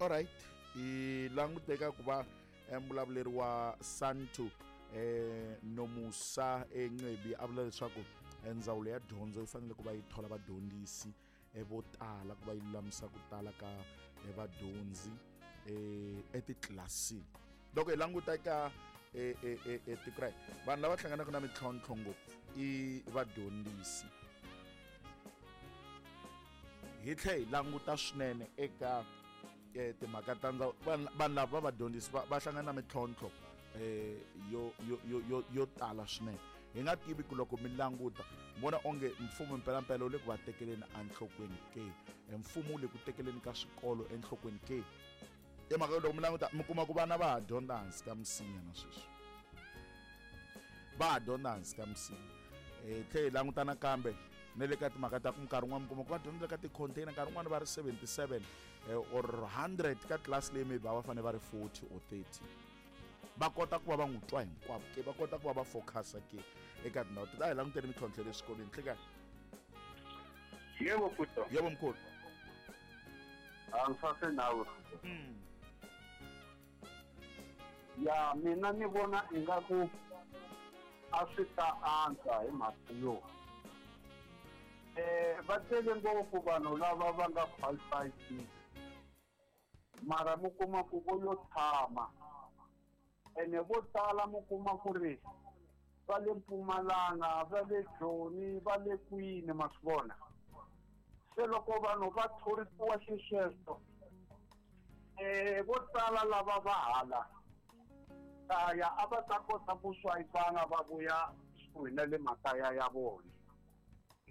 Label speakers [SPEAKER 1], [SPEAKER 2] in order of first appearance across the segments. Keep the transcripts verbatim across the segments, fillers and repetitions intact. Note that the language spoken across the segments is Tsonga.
[SPEAKER 1] Alright, hi languteka ku va mbulavuleri wa Santu eh Nomusa Encebi a vula leswaku ndzawulo ya dyondzo yi fanele ku va yi thola vadyondzisi vo tala ku va yi lulamisa ku tala ka vadyondzi eh etitlilasini. Loko hi languta eka tiko ra hina, vanhu lava hlanganaka na mintlhontlho ngopfu i vadyondzisi. Hi tlhela hi languta swinene eka timhaka ta ndzawulo, vanhu lava va vadyondzisi va hlangana na mintlhontlho eh yo yo yo yo tala swinene. Hi nga tivi ku loko mi languta vona onge mfumo mpelampela wu le ku va tekeleni enhlokweni ke, mfumo wu le ku tekeleni ka swikolo enhlokweni ke. I mhaka loko mi languta mi kuma ku vana va ha dyondza hansi ka misinya na sweswi, va ha dyondza hansi ka misinya. Hi tlhela hi languta nakambe na le ka timhaka ta ku nkarhi wun'wana mi kuma ku va dyondza ka ti-container, nkarhi wun'wana va ri seventy-seven or hundred ka tlilasi leyi maybe a va fanele va ri forty or thirty. Va kota ku va va n'wi twa hinkwavo ke, va kota ku va va focusa ke eka tindhawu teti. A hi languteni mintlhontlho ya le swikolweni. Nhlekani.
[SPEAKER 2] Yebo Futo.
[SPEAKER 1] Yebo mkhulu.
[SPEAKER 2] Angisasenawe.
[SPEAKER 1] Mm.
[SPEAKER 2] Ya mina ni vona ingaku a swi ta antswa hi mhaka yo eh va tele ngopfu vanhu lava va nga qualified, mara mi kuma ku vo yo tshama ene vo tala mi kuma ku ri va le Mpumalanga, va le Joni, va le kwini, ma swi vona. Se loko vanhu va thorisiwa xisweswo eh vo tala lava va hala kaya a va ta kota ku swayipana va vuya kusuhi na le makaya ya vona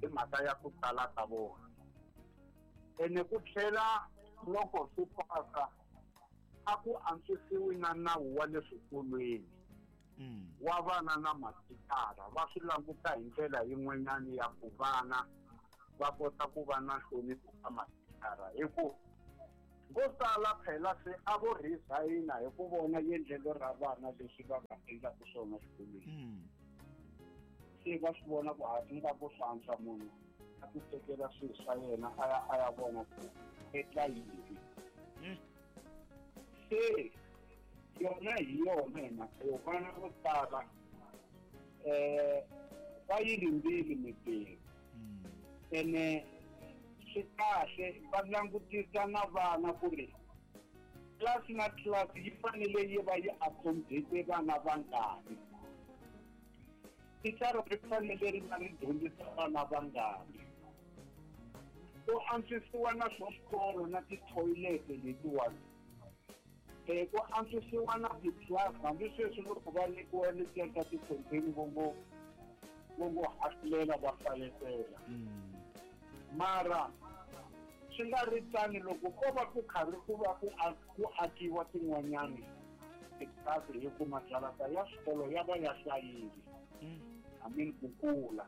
[SPEAKER 2] hi mhaka ya ku tala ka vona. Ene ku tlhela loko swi pasa a ku antswisiwi na nawu wa le swikolweni wa vana na mathicara, va swi languta hi ndlela yin'wanyana ya ku vana va kota ku va na nhlonipho ka mathicara, hi ku vo tala phela se a vo resign-a hi ku vona endlelo ra vana leswi va va endlaka swona xikolweni. Se va swi vona ku ha ingaku swi antswa munhu a ti tekela swilo swa yena a ya a ya vona ku endla yini. Se yona hi yona hi mhaka yo vana vo tala um va yi rindzile mintirho ene swi kahle va langutisa na vana ku ri class na class yi fanele yi va yi accommodate vana vangani, thicara ri fanele ri va ri dyondzisa vana vangani, ku antswisiwa na swa swikolo na tithoyilete letiwani, eh ku antswisiwa na ti-class. Hambi sweswi loko va nyikiwa letiya ta ti-container vo ngo vo ngo hahlulela va faletela, mara swi nga ri tani loko ko va ku karhi ku va ku ku akiwa tin'wanyani titlilasi, hi ku majarata ya swikolo ya va ya hlayile, I mean ku kula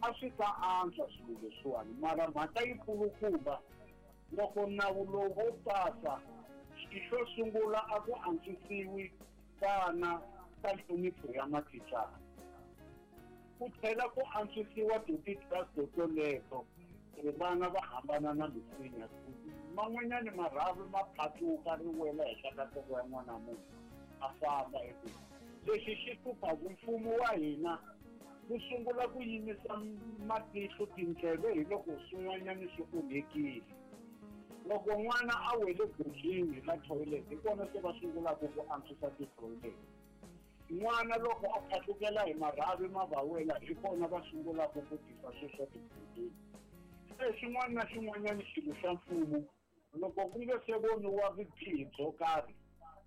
[SPEAKER 2] a swi ta antswa swilo leswiwani. Mara mhaka yi kulukumba loko nawu lowu wo pasa, xo sungula a ku antswisiwi vana ka nhlonipho ya mathicara, ku tlhela ku antswisiwa ti-titlilasi toleto ku vana va hambana na misinya. Man'wanyani marhavi ma phatluka ri wela henhla ka nhloko ya n'wana munhu a famba, hi ku lexi xi hluphaku mfumo wa hina wu sungula ku yimisa matihlo tindleve hi loko swin'wanyani swi onhekile. Loko n'wana a wele gojini la toilet, hi kona se va sungulaka ku antswisa ti-toilet. N'wana loko a phatlukela hi marhavi ma va wela, hi kona va sungulaka ku tisa swilo swa tigojini. Se xin'wana na xin'wanyana xilo xa mfumo loko ku nge se voniwa vubihi byo karhi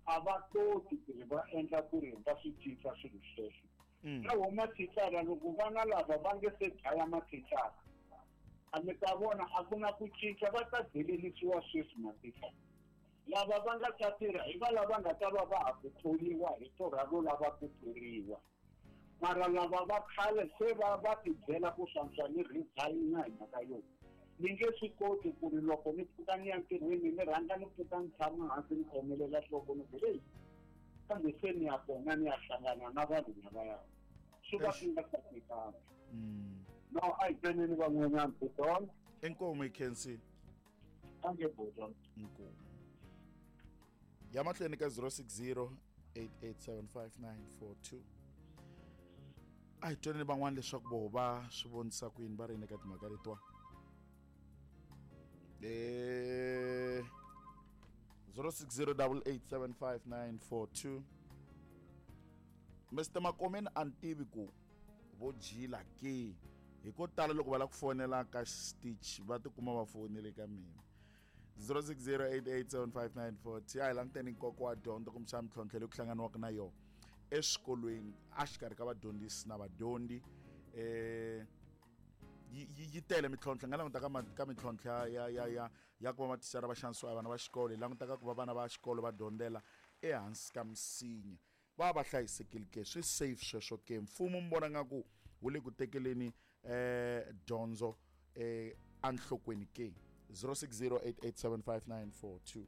[SPEAKER 2] a va koti ku ri va endla ku ri va swi cinca swilo sweswo. Na wo mathicara loko vana lava va nge se dlaya mathicara, a mi ta vona a ku na ku cinca, va ta delelisiwa sweswi mathicara. Lava va nga ta tirha hi va lava nga ta va va ha ku thoriwa hi torha ro lava ku thoriwa, mara lava va khale se va va ti byela ku swantswa ni resign-a hi mhaka yo ni nge swi koti ku ri loko ni pfuka ni ya ntirhweni ni rhanga ni pfuka ni tshama hansi ni khomelela nhloko ni ku heyi kambe se ni ya kona ni ya hlangana na vanhu lavaya, swi va swi nga sasekanga. No a hi tweneni van'wanyana Pitol.
[SPEAKER 1] Inkomu hi khensile.
[SPEAKER 2] Dankie bhuti.
[SPEAKER 1] Inkomu. Ya mahlweni ka zero six zero eight eight seven five nine four two. A hi twaneni van'wana leswaku voho va swi vonisa ku yini va ri yini eka timhaka letiwa. Eh zero six zero double eight seven five nine four two. Mister Makomeni a ni tivi ku vo jila ke hi ko tala loko va lava ku fonela ka Stitch va tikuma va fonele ka mina. zero six zero eight eight seven five nine four two. A hi languteni nkoka wa dyondzo kumbexana mintlhontlho leyi ku hlanganiwaka na yona eswikolweni exikarhi ka vadyondzisi na vadyondzi. Eh yi, yi, yi tele mintlhontlho. Hi nga languta ka ma-, ka mintlhontlho ya, ya, ya, ya, ya ku va mathicara va xanisiwa hi vana va xikolo, hi languta ka ku va vana va xikolo va dyondzela ehansi ka misinya, va va hlayisekile ke, swi safe sweswo ke. Mfumo mi vona nga ku wu le ku tekeleni, eh, dyondzo, eh, enhlokweni ke. zero six zero eight eight seven five nine four two.